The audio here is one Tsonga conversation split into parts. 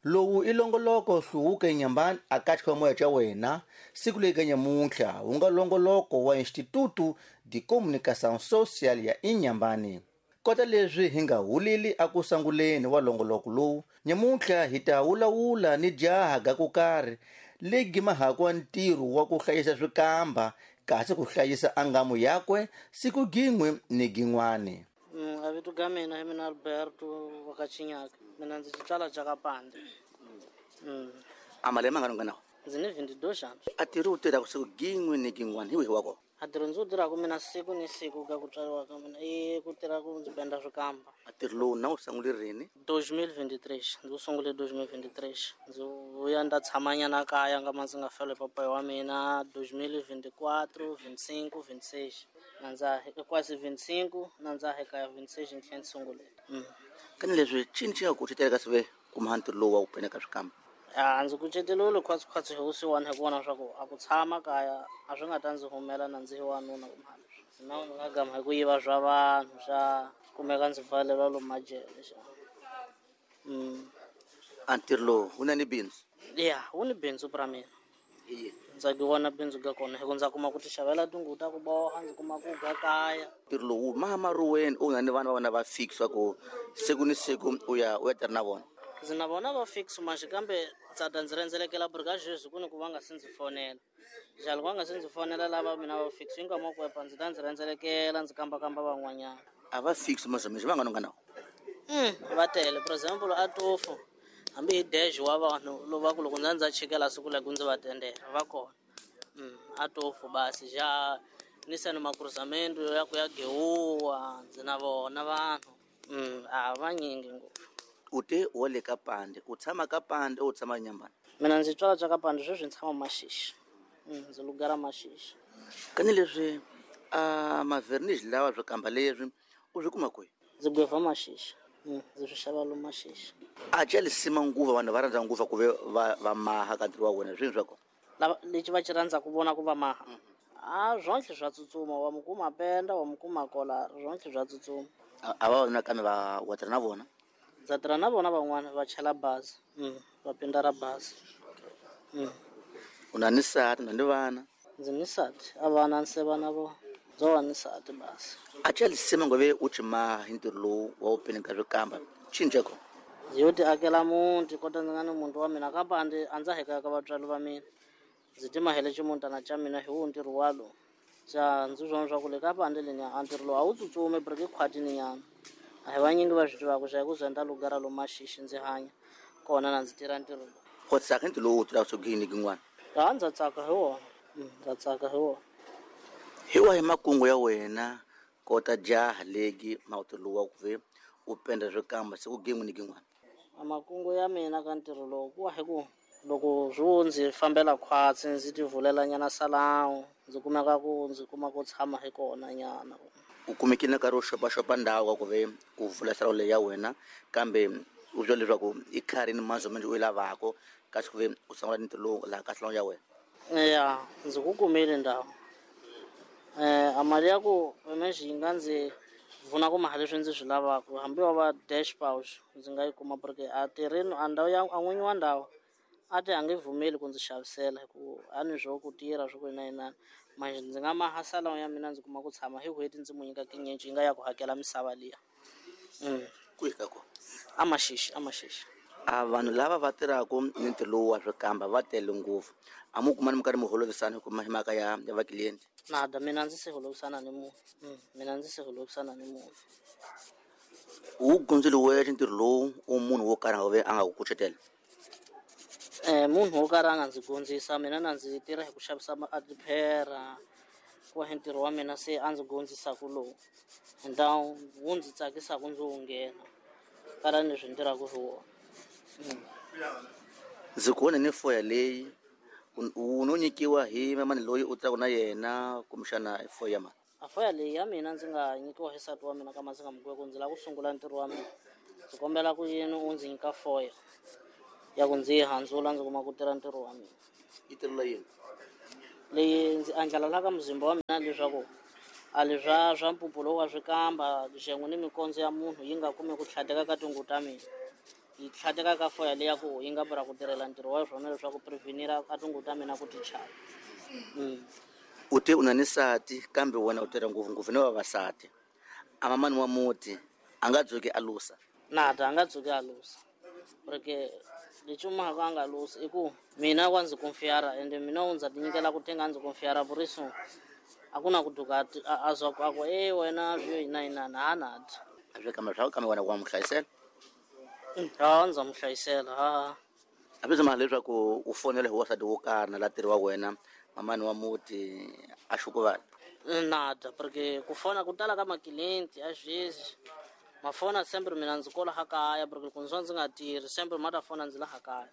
Lowu i longoloko hluvuka eNyambani aka xikhwamoya xa wena siku leyi ka nyamuntlha wu nga longoloko wa Instituto de Comunicação Social ya Inhambane. Kota leswi hi nga huleli aku sanguleni wa longoloko lowu, nyamuntlha hi ta wulawula ni jaha ga ku karhi legi mahakwa ntirho wa ku hlayisa swikamba kasi ku hlayisa angamu yakwe siku gin'we ni gin'wani. A vito ga mina hi mina Alberto wa ka Chinyaka. Mina ndzi xitswala xa ka Pande. A malembe mangani u nga na wona? Ndzi ni 22 xana. A tirhi u tirhaka siku gin'we ni gin'wani hi wihi wa kona? A ntirho ndzi wu tirhaka mina siku ni siku ka ku tswariwa ka mina i ku tirha ku ndzi penda swikamba. A ntirho lowu na wu sungule rini? 2023. Ndzi wu sungule 2023. Ndzi vuya nda tshamanyana kaya nga ma ndzi nga fela hi papayi wa mina 2024, 25, 26. Na ndza quase 25 na ndza ha kaya 26 ni tlhela ni sungule. Kani leswi cini xi nga kucetela ka sive kuma ntirho lowu wa ku penda ka swikamba? A ndzi kuceteriwile khwatsikhwatsi hi vusiwana hi ku vona swa ku a ku tshama kaya a swi nga ta ndzi humela na ndzi hi wanuna kumbe leswi. Na ndzi nga gama hi ku yiva swa vanhu xa kumeka ndzi pfaleriwa lomu majele xa. A ntirho lowu wu na ni bindzu? Ya, wu ni bindzu pra mina. Hi yini? Ndza ki vona bindzu ga kona hi ku ndza kuma ku ti xavela tinguvu ta ku boha, ndzi kuma ku ga kaya. Ntirho lowu maha maruweni u nga ni vana va vona va fix wa ku siku ni siku u ya u ya tirha na vona? Ndzi na vona va fix manje kambe ndza ta ndzi rhendzelekela buri ka sweswi ku ni ku va nga se ndzi fonela. Njhani loko va nga se ndzi fonela lava mina va fix yi nga mo kwepa ndzi ta ndzi rhendzelekela ndzi kambakamba van'wanyana. A va fix manje va nga no nga na Va tele. For example a tofu hambi hi dash wa vanhu lova ku loko ndza ndza chikela siku leko ndzi va tendela va kona. A tofu basi ja ni sani makruzamento ya ku ya gewuwa ndzi na vona vanhu. A vanyingi ngopfu. U te wa le ka Pande, u tshama ka Pande u tshama Nyambani? Mina ndzi tswala tswa ka Pande sweswi ndzi tshama Maxixi. Ndzi lugara Maxixi. Kani leswi a mavernish lawa swikamba leswi u swi kuma kwihi? Ndzi gweva Maxixi. Ndzi swi xava lomu Maxixi. A ca lisima nguva vanhu va rhandza nguva ku ve va maha ka ntirho wa wena swini swa kona? Lava lexi va xi rhandzaka ku vona ku va maha. A zwonhle swa tsutsuma wa mu kuma penda wa mu kuma kola zwonhle swa tsutsuma. A va vona kambe va wa tirha na vona? Ndza tirha na vona van'wana va chela bazi. Va penda ra bazi. U na ni nsati, u na ni vana? Ndzi ni nsati, a vana ndzi vana vo. Ndzo va ni nsati basi. A ca lisima ngove u ci maha hi ntirho lowu wa u penda ka swikamba. Cini xa kona? Ndzi yo ti akela muti kota ndzi nga ni muti wa mina ka Pande a ndza hekaya ka vatswari va mina. Ndzi ti mahele ximutana xa mina hi wo ntirho wa lowu. Xa ndzi swona swa ku le ka Pande leni a ntirho lowu a wu tsutsumi briki khwatini nyana. A hi vanyingi va swi tivaka xa hi ku zenda lugara lomu Maxixi ndzi hanya kona na ndzi tirha ntirho lowu. Wa tsaka hi ntirho lowu u tirhaka siku ni gin'wana? Ha ndza tsaka hi wona. Ndza tsaka hi wona. Hi wahi makungu ya wena kota jaha legi mawuti lowu wa ku ve u penda swikamba siku gin'we ni gin'wana? A makungu ya mina ka ntirho lowu ku wa hi ku loko swi wo ndzi fambela khwatsi ndzi ti vulela nyana salawu ndzi kumeka ku ndzi kuma ku tshama hi kona nyana. U kumekile na nkarhi wo xopaxopa ndhawu ka ku ve u vula salawu leyi ya wena kambe u swi leswaku i khari ni manzo manjhe u yi lavako kasi ku ve u sungula ntirho lowu laha ka salawu ya wena? Ya, ndzi ku kumile ndhawu. A mali ya ku mexe yi nga ndzi pfuna ku maha leswi ndzi swi lavaka hambi wa va dash pouch ndzi nga yi kuma porque a tirhini a ndhawu ya a n'winyi wa ndhawu a ti a nge vumeli ku ndzi xavisela hi ku a ni swo ku tirha swo ku ina inani manje ndzi nga maha salawu ya mina ndzi kuma ku tshama hi n'hweti ndzi mu nyika tinyenci yi nga ya ku hakela misava liya. Kwihi ka kona? A Maxixi, a Maxixi. A vanhu lava va tirhaka ni ntirho lowu wa swikamba va tele ngopfu. A mu kumani mi karhi mi holovisana hi mhaka ya va client? Nada, mina ndzi se holovisana ni munhu. Mina ndzi se holovisana ni munhu. U gundzile wexe ntirho lowu u munhu wo karhi a nga ve a nga ku kucetela? Munhu wo karhi a nga ndzi gondzisa mina na ndzi tirha hi ku xavisa a tiphera ku hi ntirho wa mina se a ndzi gondzisaka lowu ndhawu wu ndzi tsakisaka ndzi wu nghena kala ni leswi ni tirhaka hi wona. Ndzi ku vona ni foya leyi u no nyikiwa hi mani loyi u tirhaka na yena kumbexana foya ya mani? A foya leyi ya mina ndzi nga nyikiwa hi nsati wa mina kama ndzi nga mu ku ndzi lava ku sungula ntirho wa mina. Ndzi kombela ku yini u ndzi nyika foya ya ku ndzi yi handzula ndzi kuma ku tirha ntirho wa mina. Yi tirhela yini? Leyi ndzi andlala la ka muzimba wa mina leswaku a leswa swa mpuphu lowu wa swikamba xengu ni mikondzo ya munhu yi nga kumi ku tlhadeka ka tinguvu ta mina. Yi tlhateka ka foya leya ku yi nga bura ku tirhela ntirho wa swona leswaku prevenira a tinguvu ta mina ku ti chava. U te u na ni nsati kambe wena u tirha ngopfungopfu ni vavasati. A mamani wa muti a nga dzuki a lusa? Nada, a nga dzuki a lusa. Porque lexi u mahaka a nga lusi i ku mina wa ndzi konfiyara ende mina u ndza tinyikela ku tenga ndzi konfiyara puriso a ku na ku duka a zwa ku a ku e wena swi yo yina yinani ha nada. A swi kambe swa kambe wena wa n'wi hlayisela? Ha, ndza n'wi hlayisela ha. A swi mhaka leswaku u fonela hi wasati wo karhi na la tirhi wa wena mamani wa muti a xukuvala? Nada, porque ku fona ku tala ka makilenti a sweswi mafona sempre mina ndzi kola ha kaya, porque loko ndzi va ndzi nga tirhi sempre ma ta fona ndzi laha kaya.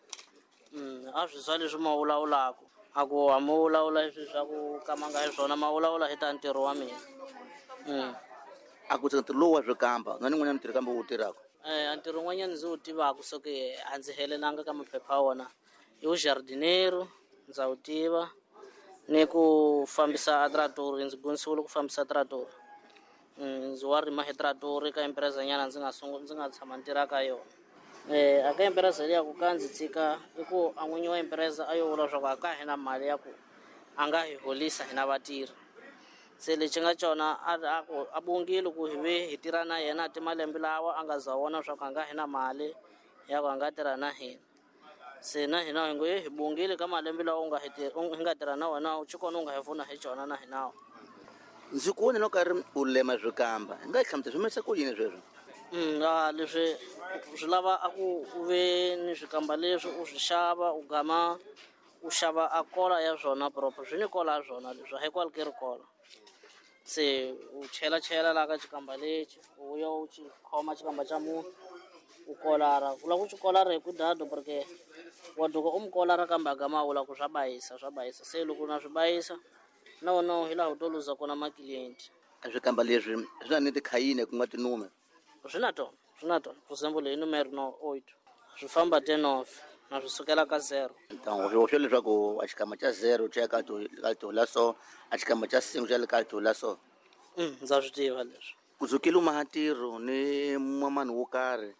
A swi swa leswi ma vulavulaka a ku a mo vulavula leswi swa ku ka ma nga hi swona, ma vulavula hi ta ntirho wa mina. A ku ntirho lowu wa swikamba na nin'wanyana ntirho kambe wu tirhaka? A ntirho wun'wanyana ndzi wu tivaka so ke a ndzi helelanga ka maphepha ya wona i wu jardinero, ndza wu tiva, ni ku fambisa a tratori, ndzi dyondzisiwile ku fambisa tratori. Ndzi wa rima hi tratori ka empresa nyana ndzi nga ndzi nga tshama ni tirha ka yona. A ka empresa liya ku ka ndzi tshika i ku a n'winyi wa empresa a yo vula leswaku a ka hi na mali ya ku a nga hi holisa hina vatirhi. Se lexi nga cona a ku a bongile ku hi ve hi tirha na yena ti malembe lawa a nga za vona leswaku a nga hi na mali ya ku a nga tirha na hina. Se na hina hi ngo hi bongile ka malembe lawa u nga hi hi nga tirha na wena u xikona u nga hi pfuna hi cona na hina. Ndzi ku vona loko ri u lema swikamba, hi nga hlamusela swi humesa ku yini sweswo? Leswi swi lava a ku u ve ni swikamba leswi u swi xava, u gama u xava a kola ya swona proper, swi ni kola ya swona leswi a hi kwale ke ri kola. Se u chela chela laha ka xikamba lexi, u ya u xi khoma xikamba xa munhu u kolara. U lava ku xi kolara hi ku dado porque wa duka u mu kolara kambe a gama a vula ku swa bayisa, swa bayisa. Se loko na swi bayisa na wona hi laha u to luza kona makilenti. Swikamba leswi swi na ni tikhayini ku nga tinume? Swi na tona, swi na tona. For example, hi numero no 8 swi famba 10 off na swi sukela ka 0. Ntango swi leswaku a xikamba xa 0 xa ka to ka to la so, a xikamba xa 5 xa le ka to la so. Ndza swi tiva leswi. Ku dzukile u maha ntirho ni mamani wo karhi,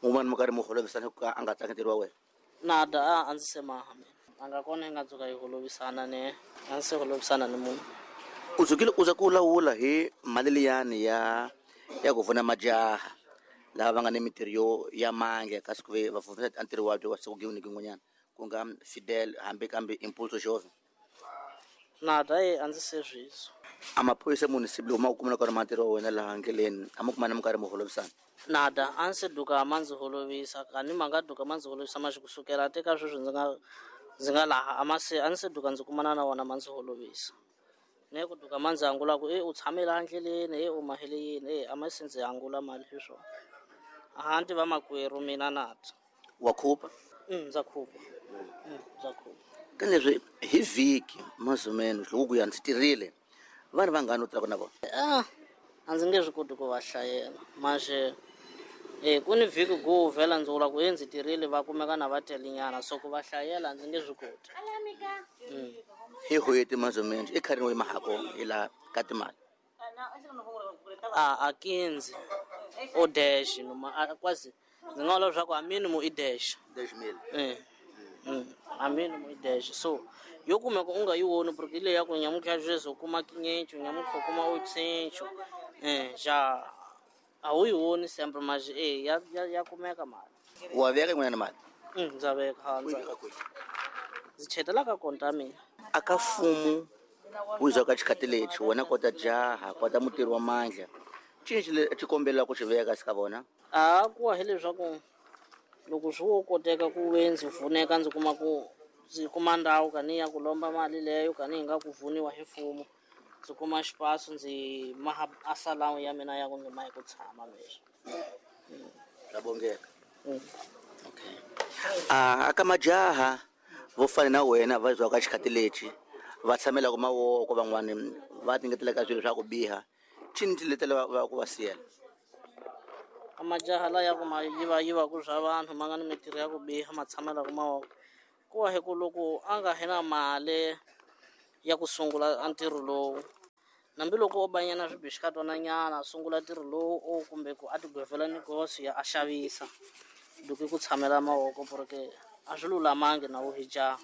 un'wana mo karhi mo holovisana ku a nga tsaki ntirho wa wena? Nada, a ndzi se maha mina. A nga kona hi nga dzuka hi holovisana ne, a ndzi se holovisana ni munhu. U dzukile u za ku lawula hi mali liyani ya ku pfuna majaha lava va nga ni mintirho yo ya mange kasi ku ve va pfuna ntirho wa wa siku ni kun'wanyana ku nga Fidel hambi kambe Impulso Jove? Nada, a ndzi se swizwa. A maphorisa munhu siku lowu ma ku kumela ka ri ntirho wa wena laha ndleleni, a ma kumana mi karhi mi holovisana? Nada, a ndzi se duka ma ndzi holovisa, kani ma nga duka ma ndzi holovisa maxi kusukela te ka sweswi ndzi nga laha a ma se a ndzi se duka ndzi kumana na wona ma ndzi holovisa. Ne ku duka ma ndzi angula ku u tshame laha ndleleni, u mahele yini, a ma se ndzi angula mali hi swona. A ndzi va makwerhu mina nada. Wa khupa? Ndza khupa. Ndza khupa. Ka leswi hi vhiki mazumeno loko ku ya ndzi tirhile, vanhu vangani u tirhaka na vona? A ndzi nge swi koti ku va hlayela. Manjhe ku ni vhiki go vhela ndzi vula ku ndzi tirhile va kumeka na va telenyana, so ku va hlayela ndzi nge swi koti. Hi n'hweti mazumeno i kharini wa mahako hi la ka timali? A 15 o dash noma a quase ndzi nga vula leswaku a minimum i dash. Dash mil. A minimum i dash. So yo kumeka u nga yi voni porque leyi ya ku nyamutlha sweswi u kuma 500, nyamutlha u kuma 800. Ja a wu yi voni sempre manje ya kumeka mali. Wa veka yin'wanyana mali? Ndza veka, ha, ndza veka. Ndzi chetela ka konta ya mina. A ka mfumo wu za ka xikhathi lexi wena kota jaha kota mutirhi wa mandla cini xi xi kombela ku xi veka ka vona? A ku wa hileswaku loko swi wo koteka ku ve ndzi pfuneka ndzi kuma ku ndzi kuma ndhawu ka ni ya ku lomba mali leyo ka ni yi nga ku pfuniwa hi mfumo, ndzi kuma xipaso ndzi maha a salamu ya mina ya ku ndzi mahi ku tshama leswi. Ra bongeka. Okay. A ka majaha vo fana na wena va zwa ka xikhathi lexi va tshamela ku mavoko van'wani va tingetela ka swilo swa ku biha, cini ti letela va ku va siyela? A majaha la ya ku ma yiva yiva ku swa vanhu ma nga ni mintirho ya ku biha ma tshamela ku mavoko, ku wa hi ku loko a nga hi na mali ya ku sungula a ntirho lowu, hambi loko o banyana swibixikatwana nyana a sungula ntirho lowu o kumbe ku a tigwevela negosi ya a xavisa, Duki ku tshamela mavoko porque a swi lulamangi na wu hi jaha.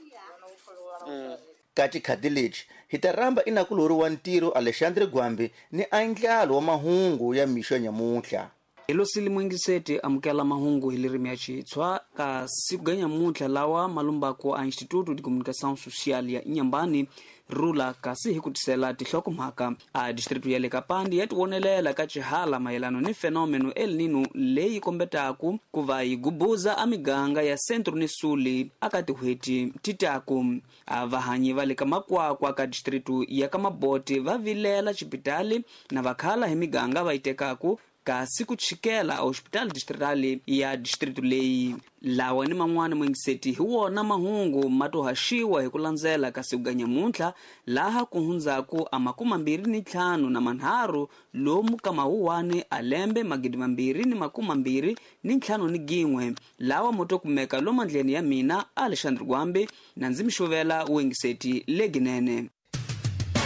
Ka xikhati lexi hi ta rhamba inakulori wa ntirho Alexandre Gwambi ni andlalo wa mahungu ya mixo ya nyamuntlha. Hi mwingiseti amukela mahungu hi lirimi ya Xitshwa ka siku ga nyamuntlha lawa malumbako a Instituto de Comunicação Social ya Inhambane rula kasi hi ku tisela tihlokomhaka a distritu ya le Kapandi ya tivonelela ka xihala mayelano ni fenomeno El Nino leyi kombetaku ku va yi gubuza a miganga ya Centro ni Suli aka tin'hweti ti taku. A vahanyi va le ka makwakwa ka distritu ya ka Maboti va vilela xipitali na vakhala hi miganga va yi tekaku kasi ku chikela a hospital distrital ya district leyi. Lawa ni man'wana mwingiseti hi wona mahungu ma to haxiwa hi ku landzela ka siku ga nyamuntlha laha ku hundzaku a 25 na manharhu lomu ka mawuwani a lembe 2021 lawa mo to kumeka lomandleni ya mina Alexandre Gwambi na ndzi mi xuvela wingiseti leginene.